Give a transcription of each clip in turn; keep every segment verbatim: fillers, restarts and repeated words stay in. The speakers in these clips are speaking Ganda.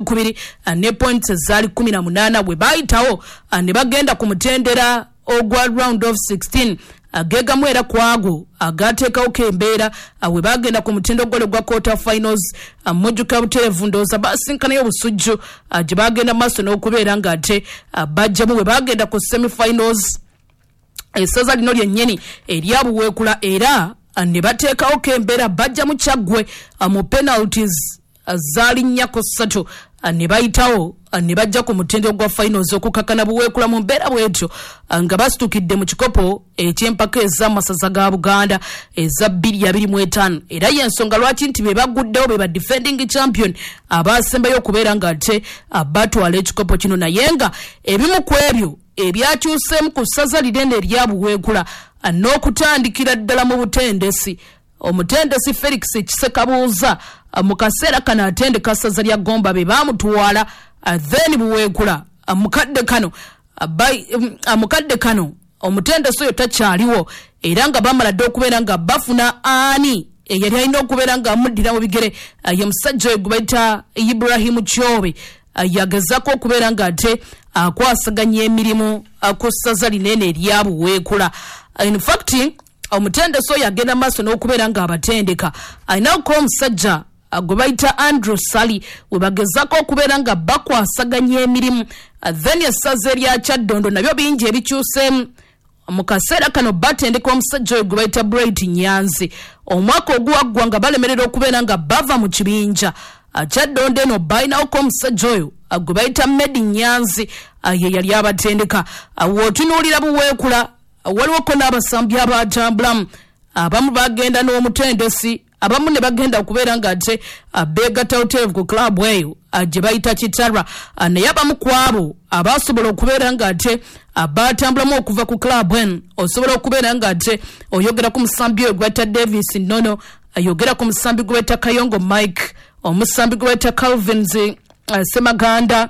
Kubiri ne points zaali kumi na munaana. Bwe bayitawo ne bagenda ku mutendera ogwa round of sixteen, agegamu era kwago agateekawo kembeera. We bagenda ku mutindo gole gwa quarter finals, mujjuka butereevu ndowooza basinkanayo Obusujju gye bagenda maaso n'okubeera ng'ate bajjamu. Bwe bagenda ku semi finals, essaza lino lyennyini erya Buweekula era ne bateekawo kembeera, bajjamu Kyaggwe mu penalties zaali nnya ku ssatu ne bayitawo ne bajja ku mutindo gwa finals okukakana Buweekula mu mbeera bwetyo nga basitukidde mu kikopo eky'empaka ez'amasaza ga Buganda eza bbiri abiri mu etaano. Era y'ensonga lwaki nti be baguddewo, be ba defending champion abasembayo okubeera nga ate batwala ekikopo kino. Naye nga ebimu ku ebyo ebyakyuseemu ku ssaza linene erya Buweekula n'okutandikira ddala mu butendesi, omutendesi Felix Kisekabuuza mu kaseera kano atendeka ssaza lya Gomba, be baamutwala. Then Buweekula mukadde kano mukadde kano omutendesi oyo takyaliwo, era nga bamala dde okubeera nga bafuna ani eyali alina okubeera nga amuddira mu bigere, ye musajja oyo gwe bayita Ibrahimu Kyobe, yagezako okubeera nga ate akwasaganya emirimu ku ssaza linene erya Buweekula. In fact, omutendesi oyo agenda maaso n'okubeera nga abatendeka, alinako omusajja gwe bayita Andrew Sali, we bagezako okubeera nga bakwasaganya emirimu. Then essaza erya Kyaddondo nabyo bingi ebikyuseemu. Mu kaseera kano batendeka omusajja oyo gwe bayita Bright Nyanzi. Omwaka oguwaggwa nga balemerera okubeera nga bava mu kibinja. Kyaddondo eno balinawoko omusajja oyo gwe bayita Medi Nyanzi, ye yali abatendeka. W'otunuulira Buweekula, waliwoko n'abasambi abatambulamu, abamu bagenda n'omutendesi, abamu ne bagenda okubeera nga ate beegatta hotel ku club eyo gye bayita Kitarwa. Naye abamu ku abo abasobola okubeera nga ate batambulamu okuva ku club eno, osobola okubeera nga ate oyogera ku musambi oyo gwe bayita Davis Nono, ayogera ku musambi gwe bayita Kayongo Mike, omusambi gwe bayita Calvins Semaganda,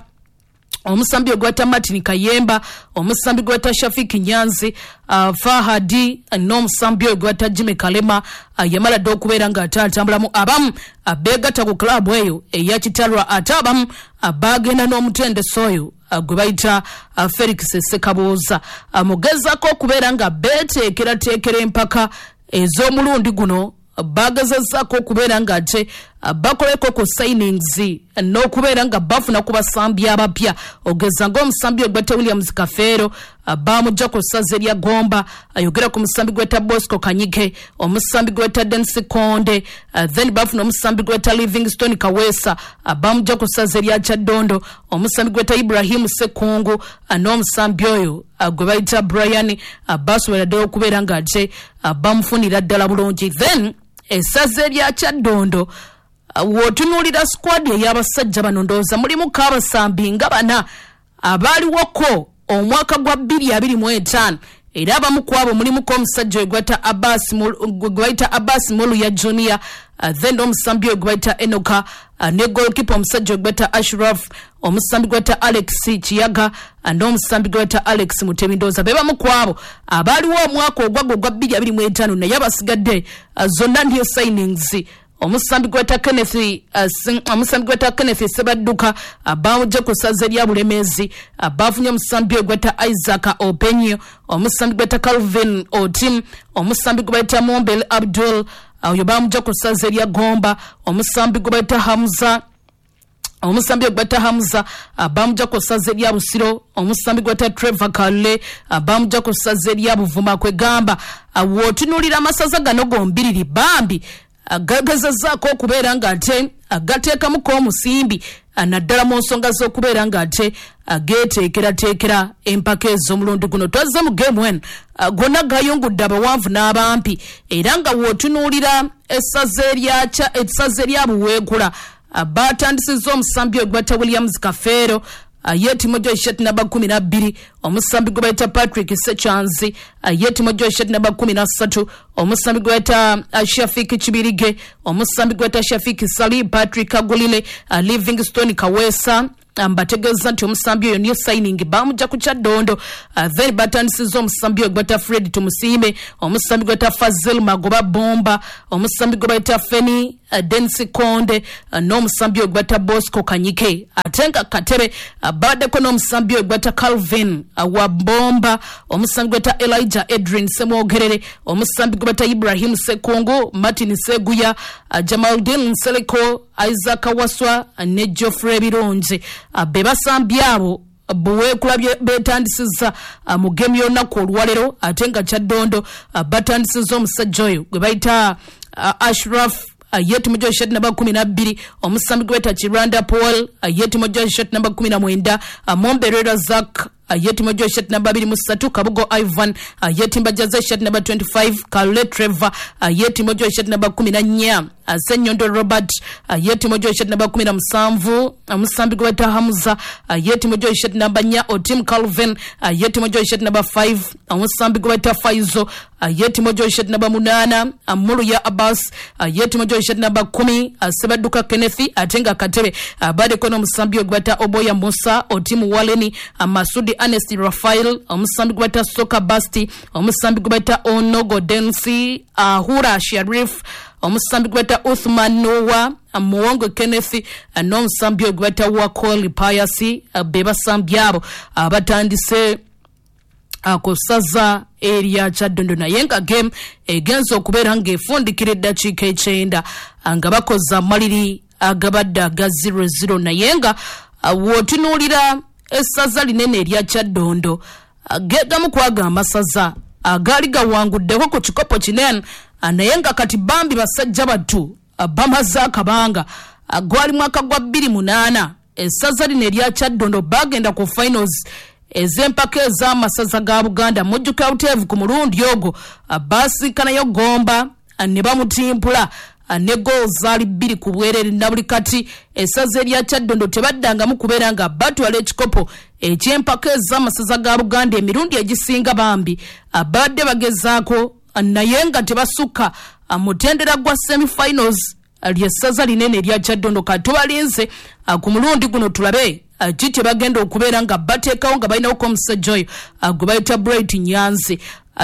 omusambi ogwe bayita Martin Kayemba, omusambi gwe bayita Shafiki Nyanzi, uh, Fahadi, n'omusambi oyo gwe bayita Jimmy Kalema. uh, yamala dde okubeera nga ate atambulamu. Abamu uh, beegatta ku club eyo eya Kitalwa, ate abamu uh, bagenda n'omutendesi oyo uh, gwe bayita uh, Felix Sekabuuza. uh, mugezaako okubeera nga beeteekerateekera empaka ez'omulundi guno, bagezezzaako okubeera nga ate bakoleko ku signings n'okubeera nga bafuna ku basambi abapya, ogeza ng'omusambi ogweta Williams Kafeero, bamugja ku ssaza erya Gomba. Ayogera ku musambi gweta Bosco Kanyike, omusambi gweta Denis Konde. Then bafuna omusambi gweta Livingstone Kaweesa, bamugja ku ssaza erya Kyaddondo, omusambi gweta Ibrahimu Sekungu n'omusambi oyo gwe bayita Brian, basobola ddala okubeera nga ate bamufunira ddala bulungi. Then essaza erya Kyaddondo, w'otunuulira squad ey'abasajja bano, ndowooza mulimuko abasambi nga bana abaaliwoko omwaka gwa bbiri abiri mu etaano, era abamu ku abo mulimuko omusajja oyo gwe bayita Abbas Muluya Junior, then omusambi oyo gwe bayita Enoka, ne goalkeeper omusajja oyo gwe bayita Ashraf, omusambi gwe bayita Alex Kiyaga n'omusambi gwe bayita Alex Mutebi. Ndowooza be bamu ku abo abaaliwo omwaka ogwagwa ogwa bbiri abiri mu etaano, naye abasigadde zonna new signings. Omusambi gweta Kenneth uh, omusambi gweta Kenneth Sebadduka, uh, bamugye ku ssaza erya Bulemezi. uh, bafunye omusambi gweta Isaac Openyo, omusambi gweta Calvin Otim, omusambi gwe bayita Mombel Abdul, oyo bamugye ku ssaza erya Gomba, omusambi gwe bayita Hamza omusambi gweta Hamza, bamugya ku ssaza erya Busiro, omusambi gweta Trevor Kalle, bamugya ku ssaza erya Buvuma. Kwegamba w'otunuulira amasaza gano gombiriri, bambi gagezezzaako okubeera nga ate gateekamuko omusimbi, naddala mu nsonga z'okubeera nga ate geeteekerateekera empaka ez'omulundi guno. Twazze mu game eno, gonna gayungudde abawanvu n'abampi, era nga w'otunuulira essaza erya Buweekula, batandisizza omusambi oyo gweta Williams Kafeero, ye timojo shirt namba kumi na bbiri, omusambi gwe bayita Patrick Sechanzi, ye timojo shirt namba kumi na ssatu, omusambi gwe bayita Shafik Kibirige, omusambi gwe bayita Shafik Sali, Patrick Agulile, Livingstone Kaweesa. Mbategeeza nti omusambi oyo new signing bamujja ku Kyaddondo. Then batandisiza omusambi oyo gweta Fred Tumusiime, omusambi gweta Fazil Magoba Bomba, omusambi gwe bayita Feni Densi Konde, n'omusambi oyo gweta Bosco Kanyike. Ate nga Katebe babaddeko n'omusambi oyo gweta Calvin wa Bomba, omusambi gweta Elijah Edrin Semwogerere, omusambi gwe bayita Ibrahim Sekungu, Martin Seguya, Jamaldin Nseleko, Isaac Waswa ne Geoffrey Birungi. Be basambi abo Buweekula betandisiza mu gemu y'olunaku olwaleero. Ate nga Kyaddondo batandisiza omusajja oyo gwe bayita Ashraf yetimujja shirt namba kumi na bbiri, omusambi gwe bayita Kiranda Paul yetimujja shirt namba kumi na mwenda, Momberera Zack yetimujja shirt namba abiri mu ssatu, Kabugo Ivan yetimbajaza shirt namba twenty five, Kalule Trevor yetimujja shirt namba kumi na nnya, Ssenyondo Robert yetimujja shirt namba kumi na musanvu, omusambi gwe bayita Hamza yetimujja shirt namba nnya, Otim Calvin yetimujja shirt namba five, omusambi gwe bayita Faizo yetimujja shirt namba munaana, Muluya Abbas yetimujja shirt namba kumi, Sebadduka Kenneth. Ate nga Katebe baddeko n'omusambi gwe bayita Oboya Musa, Otim Waleni, Masudi Ernest Rafael, omusambi gwe bayita Soka Basti, omusambi gwe bayita Onogo Densi, Ahura Sharif, omusambi gwe bayita Uthman Noah, Muwongo Kenneth n'omusambi gwe bayita Wakoli Pius. Be basambi abo abatandise ku ssaza erya Kyaddondo, naye nga game egenza okubeera ng'efundikira eddakiika ekyenda nga bakoze amaliri agabadde aga zero zero. Naye nga w'otunuulira essaza linene erya Kyaddondo gegamu kwaga amasaza agaali gawanguddeko ku kikopo kinene, naye nga kati bambi basajja battu bamaze akabanga. Gwali mwaka gwa bbiri munaana essaza lino erya Kyaddondo bagenda ku finals ez'empaka ez'amasaza ga Buganda. Mujjuka buteevu ku mulundi ogwo baasinkanayo Gomba ne bamutimpula ne goal zaali bbiri ku bwerere. Na buli kati essaza erya Kyaddondo tebaddangamu kubeera nga batwala ekikopo eky'empaka ez'amasaza ga Buganda. Emirundi egisinga bambi babadde bagezaako naye nga tebasukka mutendera gwa semifinals ly'essaza linene erya Kyaddondo. Kati tubalinze ku mulundi guno tulabe ki kye bagenda okubeera nga bateekawo nga balinawoko omusajja oyo gwe bayita Bright Nyanzi.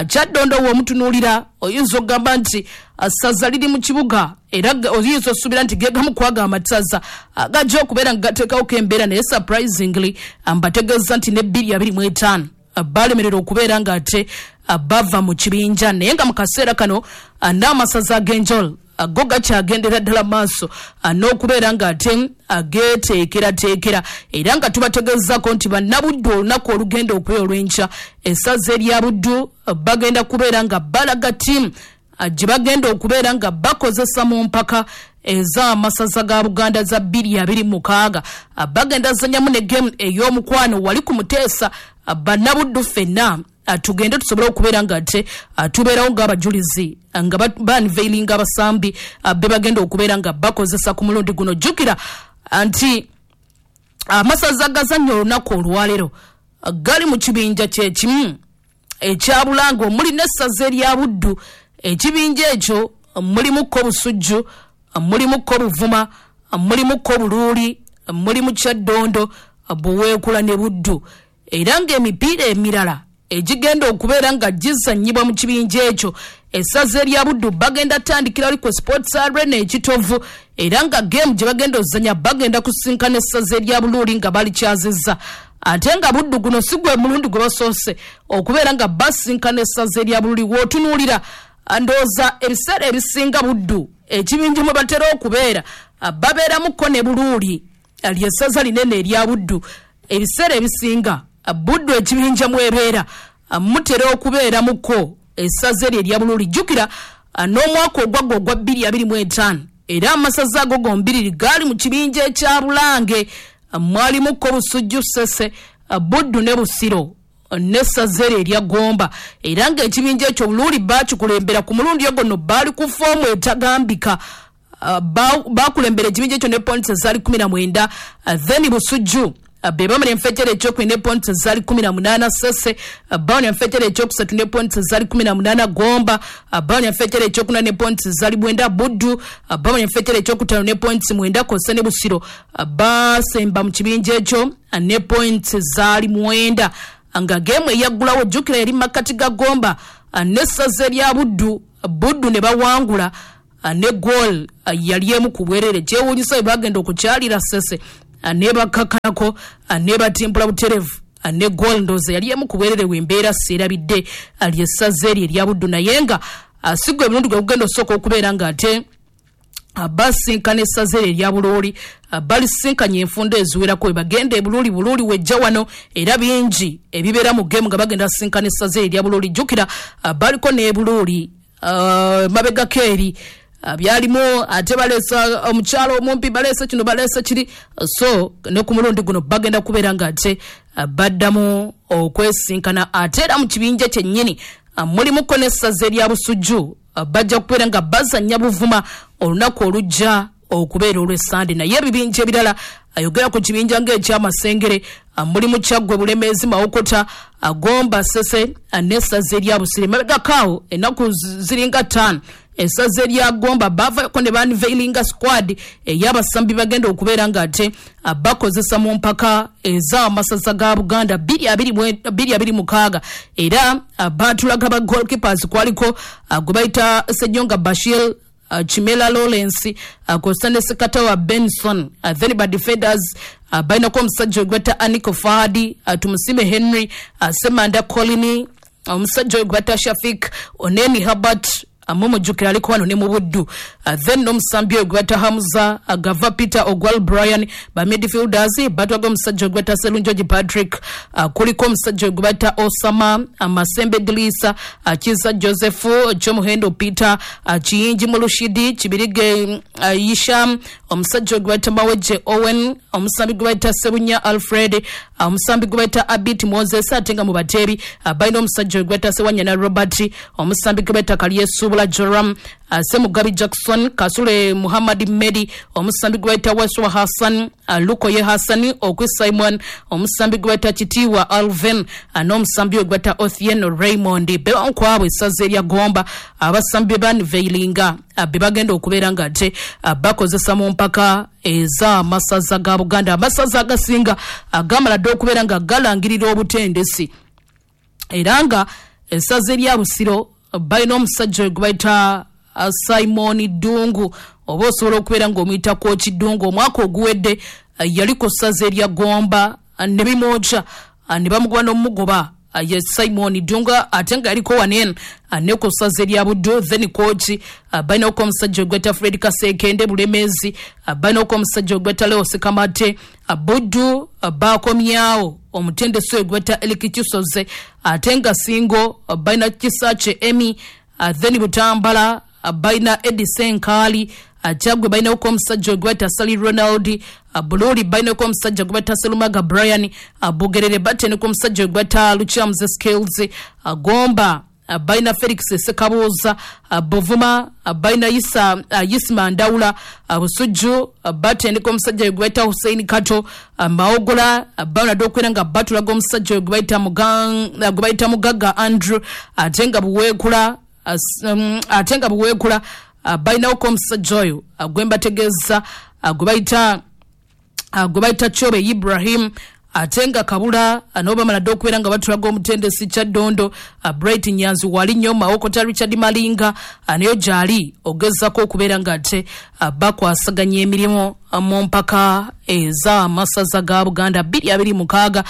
Kyaddondo w'omutunuulira oyinza okugamba nti ssaza liri mu kibuga, era oyinza osuubira nti gegamu kwaga amasaza gajja okubeera nga gateekawoko embeera, naye surprisingly mbategeeza nti ne bbiri abiri mu etaano balemererwa okubeera nga ate bava mu kibinja. Naye nga mu kaseera kano n'amasaza ag'enjawulo go gakyagendera ddala maaso n'okubeera nga ate ageeteekerateekera, era nga tubategeezaako nti bannabuddu olunaku olugenda okubeera olw'enkya essaza erya Buddu bagenda kubeera nga balaga ttiimu gye bagenda okubeera nga bakozesa mu mpaka ez'amasaza ga Buganda za bbiri abiri mukaaga. Bagenda zanyamu ne game ey'omukwano wali ku Muteesa. Bannabuddu ffenna tugende tusobole okubeera nga ate tubeerawo ng'abajulizi nga banveilinga abasambi be bagenda okubeera nga bakozesa ku mulundi guno. Jjukira nti amasaza gazannya olunaku olwaleero gali mu kibinja kye kimu ekya Bulange omuli n'essaza erya Buddu. Ekibinja ekyo mulimuko Busujju, mulimuko Buvuma, mulimuko Buluuli, mulimu Kyaddondo, Buweekula ne Buddu. Era ng'emipiira emirala egigenda okubeera nga gizannyibwa mu kibinja ekyo essaza erya Buddu bagenda tandikira wali ku Sports Arena Ekitovu, era nga game gye bagenda ozannya bagenda kusinkana essaza erya Buluuli nga balikyazizza. Ate nga Buddu guno si gwe mulundi gwe basoose okubeera nga basinkana essaza erya Buluuli. W'otunuulira ndowooza ebiseera ebisinga Buddu ekibinja mwe batera okubeera babeeramuko ne Buluuli ly'essaza linene erya Buddu. Ebiseera ebisinga Buddu ekibinja mwebeera mutera okubeeramuko essaza eryo erya Buluuli. Jjukira n'omwaka ogwagwa ogwa bbiri abiri mu etaano era amasaza ago gombiriri gaali mu kibinja ekya Bulange, mwalimuko Busujju, Ssese, Buddu ne Busiro n'essaza eryo erya Gomba. Era ng'ekibinja ekyo Buluuli baakikulembera ku mulundi ogwo nno baali ku foomu etagambika, bakulembera ekibinja ekyo ne points ezaali kumi na mwenda, then Busujju Be bamala enfejjere ekyokubiri ne points zaali kumi na munaana. Sese bawona enfejjere ekyokusatu ne points zaali kumi na munaana. Gomba bawona enfejjere ekyokuna ne points zaali mwenda. Buddu bawona enfejjere ekyokutaano ne points mwenda. Kosa ne Busiro basemba mu kibinja ekyo ne points zaali mwenda, nga geemu eyaggulawo jjukira eri makkati ga Gomba n'essaza erya Buddu. Buddu ne bawangula ne goal yali emu ku bwerere. Kyewuunyisa bwe bagenda okukyalira Sese ne bakkakanako ne batimpula buterevu ne goal ndowooza yali emu ku bwerere. Wembeera seerabidde ly'essaza eryo erya Buddu, naye nga si gwe emirundi gwe gugenda osooka okubeera ng'ate basinkana essaza eryo erya Bulooli. Balisinkanye enfunda eziwerako we bagenda e Bulooli. Bulooli wejja wano era bingi ebibeera mu geemu nga bagenda sinkana essaza eryo erya Bulooli. Jjukira baliko n'e Bulooli mabegako eri byalimu ate baleesa omukyalo omumpi, baleesa kino, baleesa kiri. So ne ku mulundi guno bagenda kubeera ng'ate baddamu okwesinkana. Ate era mu kibinja kyennyini mulimuko n'essaza erya Busujju, bajja kubeera nga bazannya Buvuma olunaku olujja okubeera olw'Essande. Naye ebibinja ebirala, ayogera ku kibinja ng'ekyamasengere, mulimu Kyaggwe, Bulemeezi, Mawokota, Gomba, Sese n'essaza erya Busiro. Emabegako awo ennaku ziringa ttaano essaza erya Gomba baavako ne banveilinga squad ey'abasambi bagenda okubeera ng'ate bakozesa mu mpaka ez'amasaza ga Buganda bbiri abiri mukaaga. Era baatulaga ba goalkeepers, kwaliko gwe bayita Ssenyonga Bashir, Chimela Lawrence, Kosa ne Sekatawa Benson. Then ba defenders balinako omusajja gwe bayita Aniko Fahadi, Tumusime Henry, Semanda Colini, omusajja gwe bayita Shafik Oneni Herbert, mumujjukira aliko wano ne mu Buddu. Then n'omusambi oyo gwe bayita Hamza Gava Peter Ogwal Brian. Ba midfielders batwaga omusajja gwe bayita Serunjogi Patrick, kuliko omusajja gwe bayita Osama Masembe Dilisa, Kiza Joseph Kyomuhendo Peter, Kiyingi Mulushidi Kibirige Yisham, omusajja gwe bayita Maweje Owen, omusambi gwe bayita Sebunya Alfred, omusambi gwe bayita Abit Moses. Ate nga mu bateebi balina omusajja gwe bayita Sewanyana Robert, omusambi gwe bayita Kalyesuubula Joram, Semugabi Jackson, Kasule Muhammad Medi, omusambi gwe bayita Waswa Hassan, Lukoye Hassan, Okwi Simon, omusambi gwe bayita Kitiwa Alvin, n'omusambi gwe bayita Othien Raymond. Be bamu essaza erya Gomba abasambi banveilinga be bagenda okubeera ng'ate bakozesa mu mpaka ez'amasaza ga Buganda. Amasaza agasinga gamala dda okubeera nga galangirira obutendesi, era nga essaza erya Busiro balina omusajja gwe bayita Simon Ddungu, oba osobola okubeera ng'omuyita Coach Ddungu. Omwaka oguwedde yali ku ssaza erya Gomba ne bimwokya ne bamugoba n'omugoba, ye Simon Ddungu, ate nga yaliko wano eno ne ku ssaza erya Buddu. Then coach balinako omusajja gwe bayita Fred Kasekende. Bulemeezi balinako omusajja gwe bayita Leo Sekamate. Buddu bakomyawo omutendesi oyo gwe bayita Eric Kisoze, ate nga Singo balina Kisaakye Emmy. Then Butambala balina Eddie Senkali. Kyaggwe balinako omusajja gwe bayita Sally Ronald. Bulooli balinako omusajja gwe bayita Serumaga Brian. Bugerere bateneko omusajja gwe bayita Luchamuze Skills. Gomba balina Felix Sekabuuza. Buvuma balina Isa Isma Ndawula. Busujju batendeka omusajja gwe bayita Hussein Kato. Mawogola balina dda okubeera nga batulaga omusajja gwe bayita Mugagga Andrew, ate nga Buweekula ate nga Buweekula balinawoko omusajja oyo gwe mbategeeza gwe bayita gwe bayita Kyobe Ibrahim. Ate nga Kabula nabo bamala dda okubeera nga batulaga omutendesi Kyaddondo Bright Nyanzi wali nnyo. Mawokota Richard Malinga nayo gy'ali ogezaako okubeera ng'ate bakwasaganya emirimu mu mpaka ez'amasaza ga Buganda bbiri abiri mukaaga.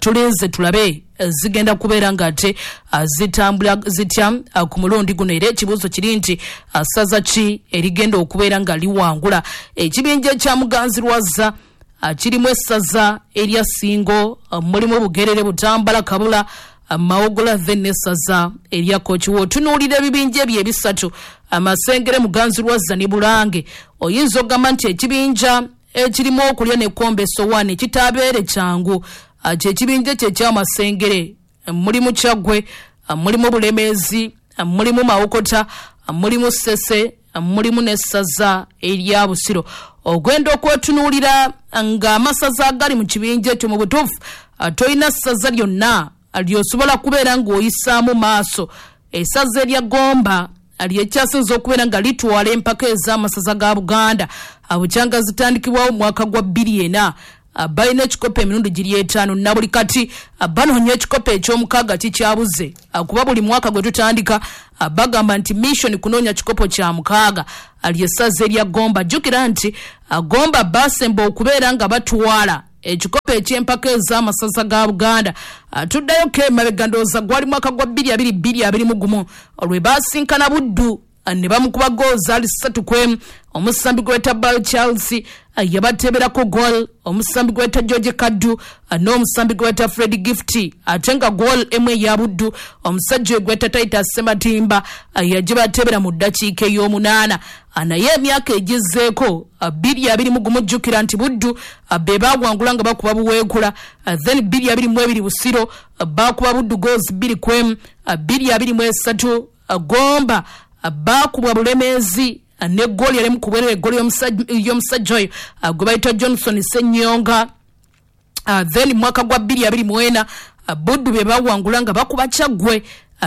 Tulinze tulabe zigenda kubeera ng'ate zitambula zitya ku mulundi guno. Era ekibuuzo kiri nti ssaza ki erigenda okubeera nga liwangula? Ekibinja ekya Muganzirwazza kirimu essaza erya Ssingo, mulimu Bugerere, Butambala, Kabula, Mawogola, then n'essaza erya Kooki. W'otunuulira ebibinja ebyo ebisatu, Amasengere, Muganzirwazza ne Bulange, oyinza okugamba nti ekibinja ekirimu okulya n'ekkomba essowaani kitaabeere kyangu. Kyekibinja kye ekyamasengere, mulimu Kyaggwe, mulimu Bulemeezi, mulimu Mawokota, mulimu Ssese, Mulimu n'essaza erya Busiro. Ogenda okwetunuulira ng'amasaza agali mu kibinja ekyo, mu butuufu tolina ssaza lyonna lyosobola kubeera ng'oyisaamu maaso. Essaza erya Gomba lyekyasinze okubeera nga litwala empaka ez'amasaza ga Buganda bukyanga zitandikibwawo mu mwaka gwa bbiri ena. Balina ekikopo emirundi giri etaano, na buli kati banoonya ekikopo eky'omukaaga kikyabuze, kuba buli mwaka gwe tutandika bagamba nti mission kunoonya kikopo kya mukaaga. Lyessaza erya Gomba. Jjukira nti Gomba basemba okubeera nga batwala ekikopo eky'empaka ez'amasaza ga Buganda, tuddayo ko emabega, ndowooza gwali mwaka gwa bbiri abiri bbiri abiri mu gumu, lwe baasinkana Buddu ne bamukuba goal zaali ssatu kwemu. Omusambi gweta Bal Charles yabateberako goal, omusambi gweta George Kaddu n'omusambi gweta Fred Gift, ate nga goal emu eya Buddu omusajja gweta Titus Sematimba yagibatebera mu ddakiika ey'omunaana. Naye emyaka egizzeeko, bbiri abiri mu gumu, jjukira nti Buddu be baawangula nga bakuba Buweekula. Then bbiri abiri mu ebiri Busiro bakuba Buddu goals bbiri kwemu. Bbiri abiri mu esatu Gomba baakubwa Bulemeezi ne gooli yali mukubwerera, eggooli y'omusajja oyo gwe bayita Johnson Ssenyonga. Then mwaka gwa bbiri abiri mu ena Buddu be bawangula nga bakuba Kyaggwe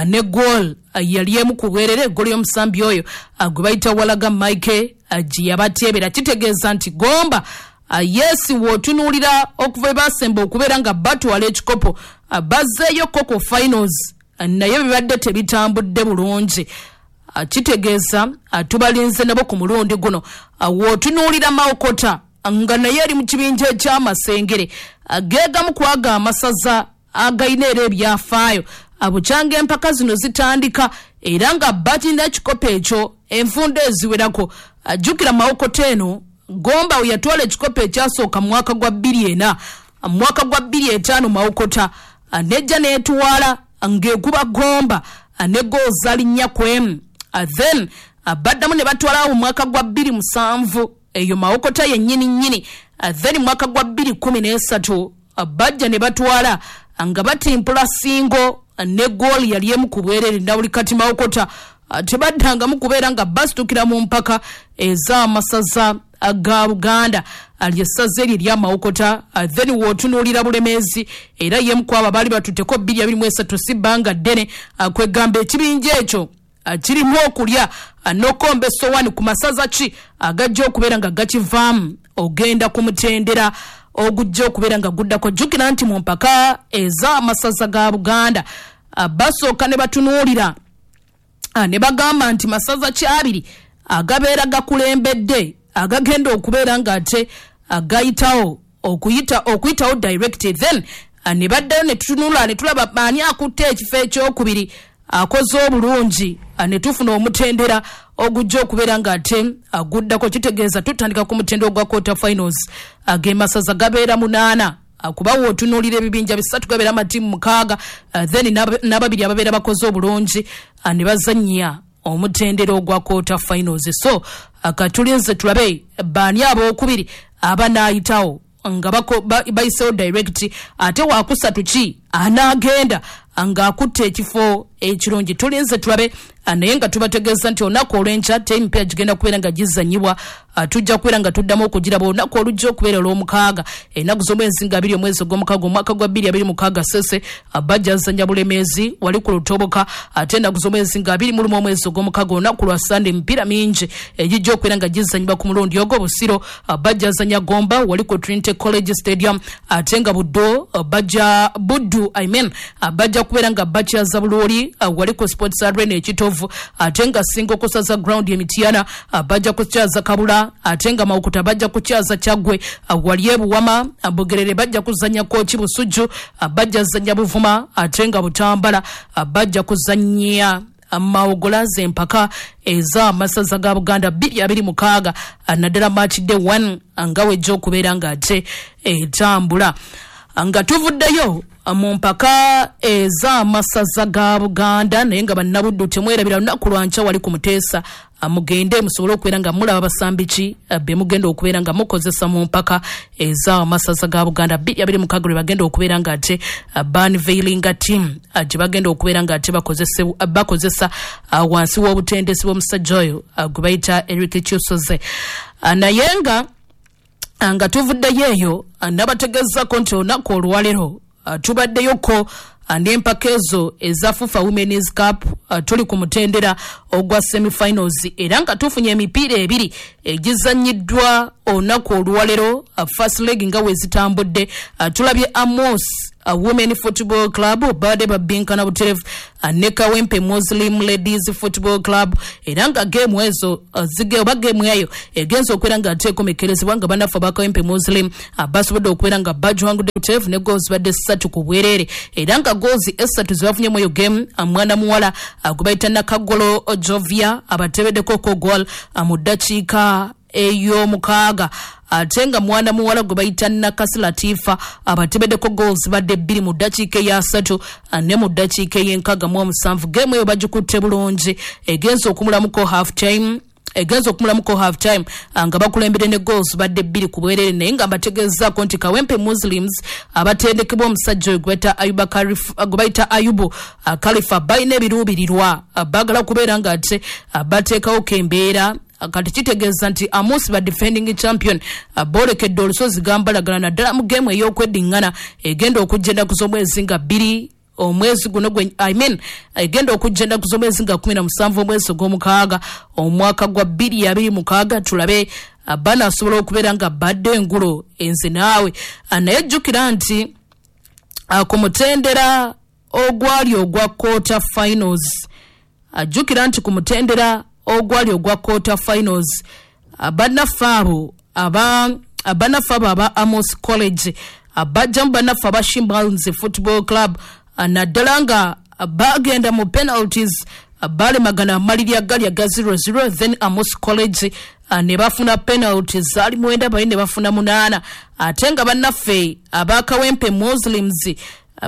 ne goal yali emu ku bwerere, eggooli y'omusambi oyo gwe bayita Walaga Mike gye yabateebera. Kitegeeza nti Gomba, yes, w'otunuulira okuva basemba okubeera nga batwala ekikopo, bazzeeyo koko finals, naye bibadde tebitambudde bulungi. Kitegeeza tubalinze nabo ku mulundi guno. W'otunuulira Mawokota nga naye eri mu kibinja ekyamasengere, geegamu kwaga amasaza agayina era ebyafaayo bukyanga empaka zino zitandika, era nga bakirina ekikopo ekyo enfunda eziwerako. Jjukira Mawokota eno, Gomba we yatwala ekikopo ekyasooka mu mwaka gwa bbiri ena, mu mwaka gwa bbiri etaano Mawokota nejja n'etwala ng'ekuba Gomba ne goal zaali nnya ku emu. Then baddamu ne batwalawo mu mwaka gwa bbiri musanvu, eyo Mawokota yennyini nnyini. Then mwaka gwa bbiri kumi n'esatu bajja ne batwala nga batimpula Singo ne goal yali emu ku bwerere. Na buli kati Mawokota tebaddangamu kubeera nga basitukira mu mpaka ez'amasaza ga Buganda, lyessaza eryo erya Mawokota. Then w'otunuulira Bulemeezi, era ye mukwabo baali batutteko bbiri abiri mu esatu, si bbanga ddene. Kwegamba ekibinja ekyo kirimu okulya n'okomba esowani ku masaza ki agajja okubeera nga gakivaamu ogenda ku mutendera ogujja okubeera nga guddako. Jjukira nti mu mpaka ez'amasaza ga Buganda basooka ne batunuulira ne bagamba nti masaza ki abiri agabeera gakulembedde agagenda okubeera ng'ate gayitawo okuyita okuyitawo direct. Then ne baddayo ne tutunula ne tulaba ani akutte ekifo ekyokubiri akoze obulungi, ne tufuna omutendera ogujja okubeera ng'ate guddako. Kitegeeza tutandika ku mutendera ogwa quarter finals, ag'emasaza gabeera munaana, kuba wootunuulira ebibinja bisatu gabeera amatiimu mukaaga, then n'ababiri ababeera bakoze obulungi ne bazannya omutendera ogwa quarter finals. So katulinze tulabe baani abookubiri abanaayitawo nga bayisewo direct, ate wakusatu ki anaagenda ng'akutte ekifo ekirungi. Tulinze tulabe, naye nga tubategeeza nti olunaku olw'enkya emipiira gigenda kubeera nga gizanyibwa. Tujja kubeera nga tuddamu okugiraba olunaku olujja okubeera olw'omukaaga, ennaku z'omwezi nga abiri omwezi ogw'omukaaga omwaka gwa bbiri abiri mukaaga. Sese bajja zanya Bulemeezi wali ku Lutoboka, ate ennaku z'omwezi nga abiri mu lumu omwezi ogw'omukaaga, olunaku lwa Sande, emipiira mingi egijja okubeera nga gizanyibwa ku mulundi ogwo. Busiro bajja zanya Gomba wali ku Trinity College Stadium, ate nga Buddo bajja, Buddu I mean, bajja kubeera nga bakyaza Buluuli wali ku Sports Arena Ekitovu, ate nga Singa okusaza ground Emityana bajja kukyaza Kabula, ate nga Mawokota bajja kukyaza Kyaggwe wali Ebuwama. Bugerere bajja kuzanya Kooki, Busujju bajja zanya Buvuma, ate nga Butambala bajja kuzanya Mawogola. Empaka ez'amasaza ga Buganda bbiri abiri mukaaga, naddala match day one nga wejja okubeera ng'ate etambula. Nga tuvuddeyo mu mpaka ez'amasaza ga Buganda, naye nga bannabuddu temwerabira, lunaku lwankya wali ku Muteesa Mugende musobole okubeera nga mulaba basambi ki be mugenda okubeera nga mukozesa mu mpaka ez'amasaza ga Buganda bbiri abiri mukaaga lwe bagenda okubeera nga ate ba-unveilinga team gye bagenda okubeera nga ate bakozesa wansi w'obutendesi bw'omusajja oyo gwe bayita Eric Kyusoze. Naye nga nga tuvuddeyo eyo, nabategeezako nti olunaku olwaleero tubaddeyoko n'empaka ezo eza FUFA Women's Cup. Tuli ku mutendera ogwa semifinals era nga tufunye emipiira ebiri egizannyiddwa olunaku olwaleero. First leg nga we zitambudde, tulabye Amos Women Football Club babadde babinkana buterevu ne Kawempe Muslim Ladies Football Club, era nga geemu ezo oba geemu eyo egenza okubeera nga ate ekomekerezebwa nga bannaffe aba Kawempe Muslim basobodde okubeera nga bagiwangudde buterevu ne goals zibadde ssatu ku bwereere, era nga goals essatu ze bafunyemu eyo geemu, mwana muwala gwe bayita Nakagolo Jovia abateebeddeko ko goal mu ddakiika ey'omukaaga, ate nga mwana muwala gwe bayita Nakasi Latifa abatebeddeko goals badde bbiri mu ddakiika eyasatu ne mu ddakiika ey'enkaaga mu omusanvu. Geemu eyo bagikutte bulungi, egenza okumulamuko half time egenza okumulamuko half time nga bakulembedde ne goals badde bbiri ku bwereere. Naye nga mbategeezaako nti Kawempe Muslims abatendekebwa omusajja oyo gwe bayita Ayubu Khalifa balina ebiruubirirwa, baagala kubeera nga ate bateekawo embeera. Kati kitegeeza nti Amos ba defending champion boolekedde olusozi gambalagala, naddala mu geemu ey'okweddiŋŋana egenda okujja ennaku z'omwezi nga bbiri omwezi guno gwe, I mean, egenda okujja ennaku z'omwezi nga kumi na musanvu omwezi ogw'omukaaga omwaka gwa bbiri abiri mukaaga. Tulabe banaasobola okubeera nga badde engulo enze naawe. Naye jjukira nti ku mutendera ogwali ogwa quarter finals, jjukira nti ku mutendera ogwali ogwa quarter finals, bannaffe abo aba bannaffe abo aba Amos College bajjamu bannaffe aba Shimbals Football Club, naddala nga bagenda mu penalties, balemagana amaliri agali aga zero zero. Then Amos College ne bafuna penalties zaali mwenda, bali ne bafuna munaana. Ate nga bannaffe aba Kawempe Muslims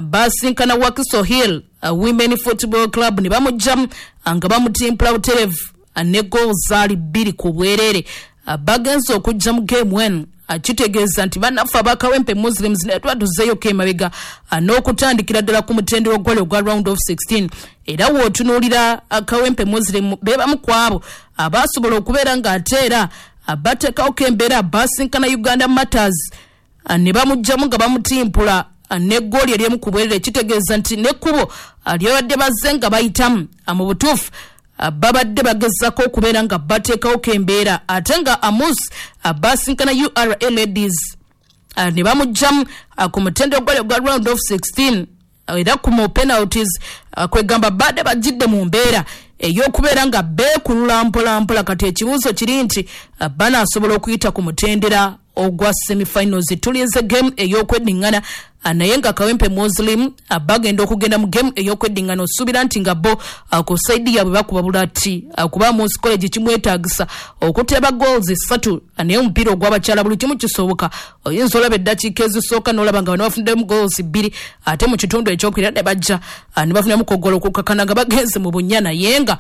basinkana Wakiso Hill Women Football Club ne bamugjamu nga bamutimpula buterevu ne goals zaali bbiri ku bwereere. Bagenze okujja mu game eno, kitegeeza nti bannaffe aba Kawempe Muslims naye twatuzeeyoko emabega n'okutandikira ddala ku mutendera ogwali ogwa round of sixteen. Era w'otunuulira Kawempe Muslim be bamu ku abo abasobola okubeera ng'ate era bateekawoko embeera. Basinkana Uganda Matters ne bamugjamu nga bamutimpula ne ggooli eryemu ku bwerere. Kitegeeza nti n'ekkubo lyabadde bazze nga bayitamu, mu butuufu babadde bagezaako okubeera nga bateekawoko embeera. Ate nga Amos basinkana U R A Ladies ne bamugjamu ku mutendera ogwali ogwa round of sixteen era ku mu penalties. Kwegamba badde bajjidde mu mbeera ey'okubeera nga beekulula mpola mpola. Kati ekibuuzo kiri nti banaasobola okuyita ku mutendera ogwa semifinals? Tulinze game ey'okweddiŋŋana, naye nga Kawempe Muslim bagenda okugenda mu game ey'okweddiŋŋana, osuubira nti nga bo ku side yaabwe bakuba bulati, kuba Amos College kimwetaagisa okuteeba goals ssatu. Naye omupiira ogw'abakyala buli kimu kisoboka. Oyinza olaba eddakiika ezisooka n'olaba nga bano bafuddemu goals bbiri, ate mu kitundu ekyokubiri ne bajja ne bafunamu kogola okukakana nga bagenze mu bunnya. Naye nga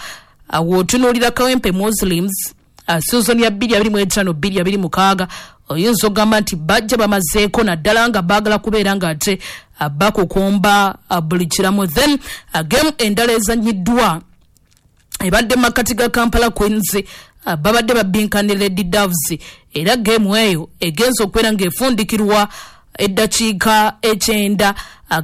w'otunuulira Kawempe Muslims season ya bbiri abiri mu etaano bbiri abiri mukaaga, oyinza okugamba nti bajja bamazeeko, naddala nga baagala kubeera nga ate bakukumba buli kiramu. Then game endala ezanyiddwa ebadde mu makkati ga Kampala Queens, babadde babinkane Lady Doves, era geemu eyo egenza okubeera ng'efundikirwa eddakiika ekyenda,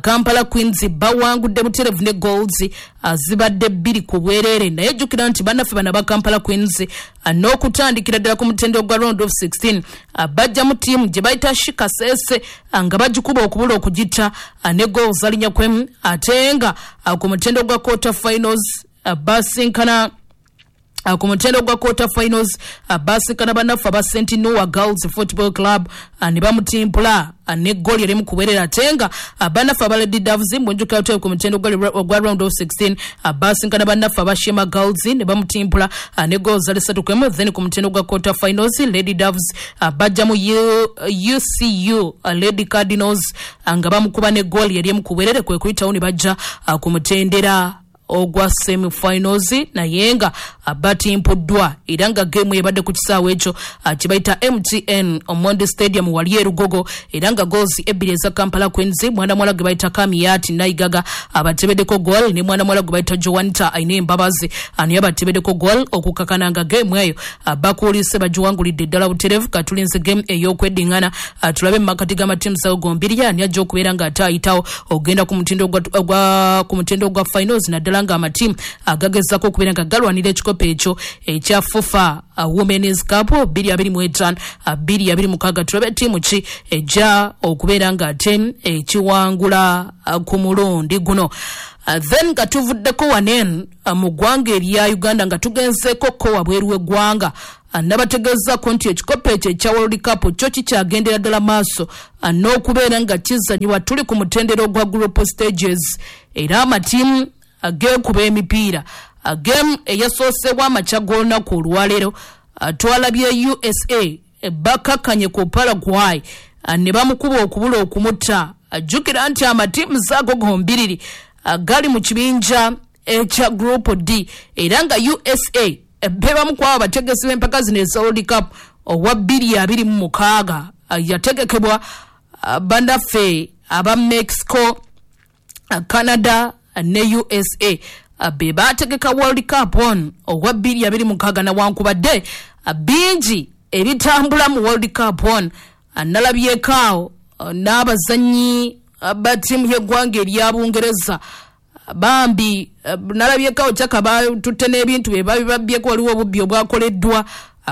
Kampala Queens bawangudde buterevu ne goals zibadde bbiri ku bwereere. Naye jjukira nti bannaffe bano aba Kampala Queens n'okutandikira ddala ku mutendera gwa round of sixteen bajjamu ttiimu gye bayita Shikasese nga bagikuba okubula okugitta ne goals alinnya kwemu. Ate nga ku mutendera gwa quarter finals basinkana ku mutendera gwa quarter finals basinkana bannaffe aba Saint Noah Girls Football Club ne bamutimpula ne gooli erimu kuwerera. Ate nga bannaffe aba Lady Doves, munjukira ku mutendera ogwa round of sixteen basinkana bannaffe aba Shema Girls ne bamutimpula ne goals zali ssatu kwemu. Then ku mutendera gwa quarter finals Lady Doves bajjamu U C U Lady Cardinals nga bamukuba ne gooli erimu kuwerere, kwe kuyitawo ne bajja ku mutendera ogwa semifinals, naye nga batimpuddwa era nga game ebadde ku kisaawe ekyo kye bayita M T N Omondi Stadium wali e Lugogo, era nga goals ebbiri eza Kampala Queens, mwana muwala gwe bayita Kamiyati Naigaga abatebeddeko goal ne mwana muwala gwe bayita Joanita Aine Mbabazi naye abatebeddeko goal okukakana nga game eyo bakuulise bagiwangulidde ddala butereevu. Katulinze game ey'okweddingana tulabe mu makati g'amatiimu ago gombiri ani ajja okubeera ng'ate ayitawo ogenda ku mutindo gwa ku mutindo gwa finals, naddala nga amatiimu agagezaako okubeera nga galwanira ekikopo ekyo ekya FUFA Women's Cup bbiri abiri mu etaano bbiri abiri mukaaga. Tulabe ttiimu ki ejja okubeera ng'ate ekiwangula ku mulundi guno. Then nga tuvuddeko wanen mu ggwanga erya Uganda nga tugenzeeko ko wabweru w'eggwanga, nabategeezaako nti ekikopo ekyo ekya World Cup kyo kikyagendera ddala maaso n'okubeera nga kizanyibwa. Tuli ku mutendera ogwa group stages era amatiimu ageekuba emipiira. Game eyasoosebwa amakya g'olunaku olwaleero twalabye U S A bakkakkanye ku Paraguay ne bamukuba okubula okumutta. Jjukira nti amatiimu zaago gombiriri gali mu kibinja ekya Group D, era nga U S A bebamu ku abo abategesi b'empaka zino eza World Cup owa bbiri abiri mu mukaaga yategekebwa bannaffe aba Mexico, Canada ne U S A be baategeka World Cup on owa bbiri abiri mukaaga. Nawankubadde bingi ebitambula mu World Cup on, nalabyeko awo n'abazannyi ba ttiimu y'eggwanga erya Bungereza bambi nalabyeko awo kyaka batutte n'ebintu bye babibabyeko, waliwo obubbi obwakoleddwa,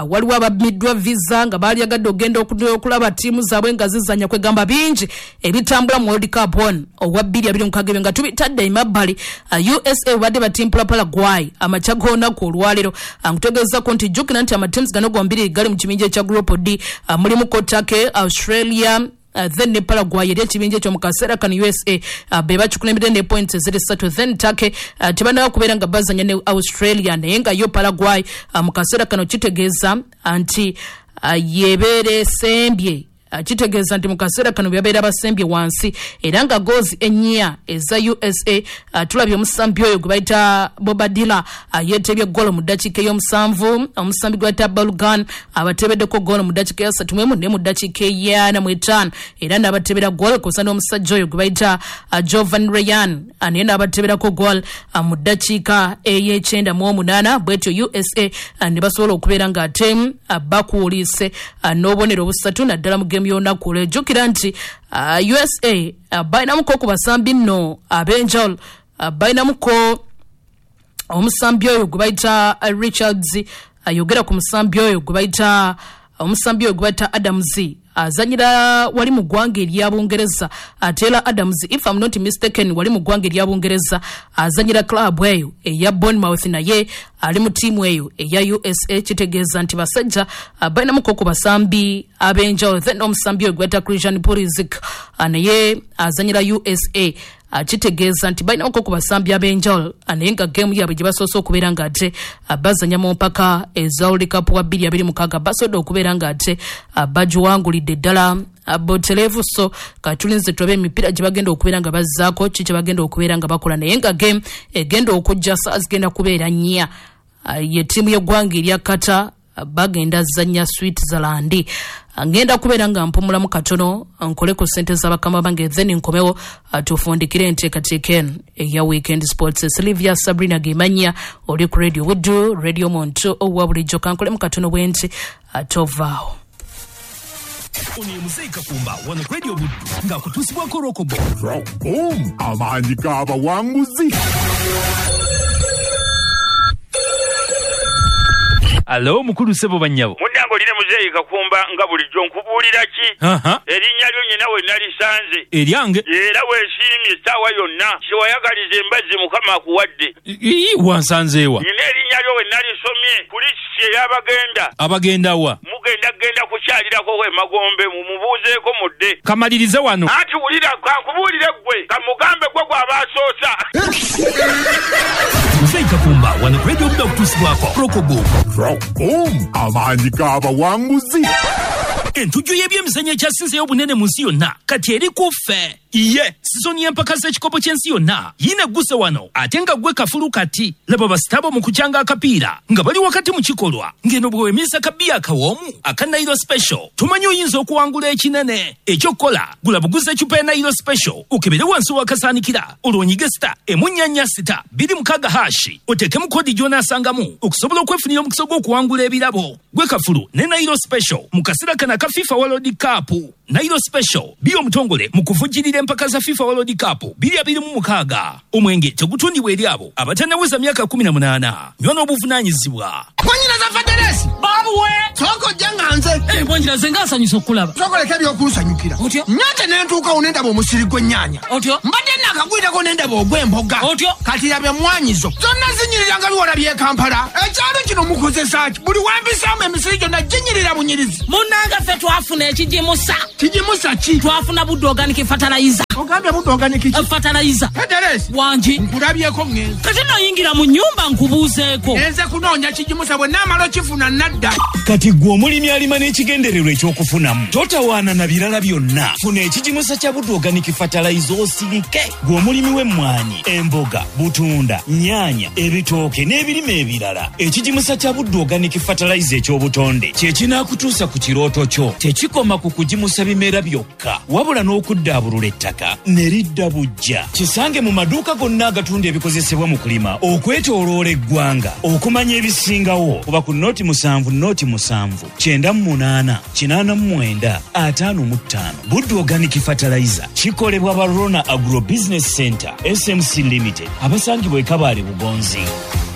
waliwo ababbiddwa visa nga baalyagadde ogenda okulaba ttiimu zaabwe nga zizannya. Kwegamba bingi ebitambula mu World Cup on owa bbiri abiri mukaaga ebyo nga tubitadde emabbali. U S A badde batimpula Paraguay amakya g'olunaku olwaleero. Nkutegeezaako nti jjukira nti amatiimu gano gombiri gali mu kibinja ekya Group D, mulimu Turkey, Australia, Uh, then ne Paraguay eri ekibinja ekyo mu kaseera kano U S A uh, be bakikulembedde ne points eziri ssatu. Then Turkey uh, tebannaba kubeera nga bazanya ne Australia, naye nga yo Paraguay uh, mu kaseera kano kitegeeza nti uh, yebeera esembye, uh, kitegeeza nti mu kaseera kano byabeera basembye wansi, era nga goals ennya eza U S A uh, tulabye omusambi oyo gwe bayita Bobadilla uh, yeetebye goolo mu ddakiika ey'omusanvu, omusambi gwe bayita Balogun abateebeddeko goolo mu ddakiika eyasatu mu emu ne mu ddakiika ey'ana mu etaano, era n'abateebera goolo kw'ossa n'omusajja oyo gwe bayita uh, Jovan Ryan uh, naye n'abateeberako goolo uh, mu ddakiika ey'ekyenda mu omunaana. Bwetyo U S A uh, ne basobola okubeera ng'ate uh, bakuuliise uh, n'obubonero obusatu naddala mu game y'olunaku olwo. Jjukira nti uh, U S A uh, balinamuko ku basambi nno ab'enjawulo, uh, balinamuko omusambi oyo gwe bayita uh, Richards, ayogera uh, ku musambi oyo gwe bayita omusambi oyo gwe bayita Adams, azanyira wali mu ggwanga erya Bungereza. Taylor Adams, if I'm not mistaken, wali mu ggwanga erya Bungereza, azanyira club eyo eya Bournemouth, naye ali mu ttiimu eyo eya U S A. Kitegeeza nti basajja balinamuko ku basambi ab'enjawulo. Then omusambi oyo gwe bayita Christian Pulisic naye azanyira U S A, kitegeeza nti balinamuko ku basambi ab'enjawulo, naye nga game yaabwe gye basoose okubeera ng'ate bazanya mu mpaka eza World Cup wa bbiri abiri mukaaga basobodde okubeera ng'ate bagiwangulidde ddala butereevu. So katulinze tulabe emipiira gye bagenda okubeera nga bazzaako, ki kye bagenda okubeera nga bakola, naye nga game egenda okujja saa zigenda kubeera nnya. Ye ttiimu y'eggwanga erya Qatar bagenda zannya Switzerland. Ngenda kubeera nga mpumulamu katono nkole ku ssente z'abakama bange, then nkomewo tufundikire enteekateeka eno eya Weekend Sports. Sylvia Sabrina Gemanya oli ku Radio Buddu, Radio Muntu owa bulijjo. Kankolemu katono bwe nti tovaawo. Ono ye Muzeeyi Kakumba wano ku Radio Buddu ng'akutuusibwako Rokobo. Rockboom, amaanyi g'abawanguzi. Alo mukulu ssebo bannyabo. Munnange olina Muzeeyi Kakumba nga bulijjo nkubuulira ki? Erinnya lyo nnyina we nalisanze. Eryange? Era weesiimye essaawa yonna. Kyewayagaliza embazzi Mukama akuwadde. Ii wansanze wa? Nnyina erinnya lyo we nalisomye ku lisiti ey'abagenda. Abagenda wa? Mugenda kugenda kukyalirako emagombe mumubuuzeeko mudde. Kamalirize wano. Anti wulira kankubuulire ggwe kamugambe gwe gw'aba asoosa. Muzeeyi Kakumba Kakumba wano ku Radio Buddu okutuusibwako Rockboom. Rockboom, amaanyi g'abawanguzi. Entujjo y'ebyemizannyo ekyasinzeeyo obunene mu nsi yonna kati eri ku ffe. Iye sizoni y'empaka z'ekikopo ky'ensi yonna yiina egguse wano, ate nga ggwe kafulu kati. Laba basitabo mu kukyanga akapiira nga bali wakati mu kikolwa, ng'eno bw'owemisa kabiya akawoomu aka Nairo Special tumanyi oyinza okuwangula ekinene. Ekyokukola, gula buguza ecupa ya Nairo Special okebere wansi w'akasaanikira, olwo onyige sita emu nnya nnya sita bbiri mukaaga hashi, oteekemu kodi gy'onaasangamu okusobola okwefunira omukisa gw'okuwangula ebirabo. Gwe kafulu ne Nairo Special mu kaseera kano aka FIFA World Cup. Nairo Special bi omutongole mu kuvujjirira empaka za FIFA World Cup biri abiri mu mukaaga. Omwenge tegutundibwa eri abo abatannaweza myaka kumi na munaana. Nywa n'obuvunaanyizibwa. Mwanyinaza Faderesi. Babuwe. Soko janga nze. Eh, mwanyinaze nga nsanyusa okulaba. Soko leka ebyokunsanyukira. Otyo? Nyate ne ntuukawo ne ndaba omusiri gw'ennyaanya. Otyo? Mbadde naakagwirako ne ndaba ogw'emboga. Otyo? Kati laba emmwanyizo. Zonna zinyirira nga biwala by'e Kampala. Ekyalo kino mukozesa ki? Buli wampisaamu emisiri gyonna ginyirira bunyirizi. Munnange ffe twafuna ekigimusa. Kigimusa ki? Twafuna Buddu Organic Fertilizer. Ogambye Buddu Organic ki? Fertilizer. Federesi. Wangi. Nkulabyeko ŋŋenze. Kati nno yingira mu nnyumba nkubuuzeeko. Nze kunoonya kigimusa bwe naamala okifuna nadda. Kati ggwe omulimi alima n'ekigendererwa ekyokufunamu, totawaana na birala byonna. Funa ekigimusa kya Buddu Organic Fertilizer osirike. Ggwe omulimi w'emmwanyi, emboga, butunda, nnyaanya, ebitooke n'ebirime ebirala, ekigimusa kya Buddu Organic Fertilizer eky'obutonde kye kinaakutuusa ku kirooto kyo. Tekikoma ku kugimusa bimera byokka, wabula n'okuddaabulula ettaka ne lidda buggya. Kisange mu maduuka gonna agatunda ebikozesebwa mu kulima okwetooloola eggwanga. Okumanya ebisingawo kuba ku noti musanvu noti musanvu kyenda mu munaana kinaana mu mwenda ataano mu ttaano. Buddu Organic Fertilizer kikolebwa ba Rona Agro Business Center S M C Limited, abasangibwa e Kabaale Bugonzi.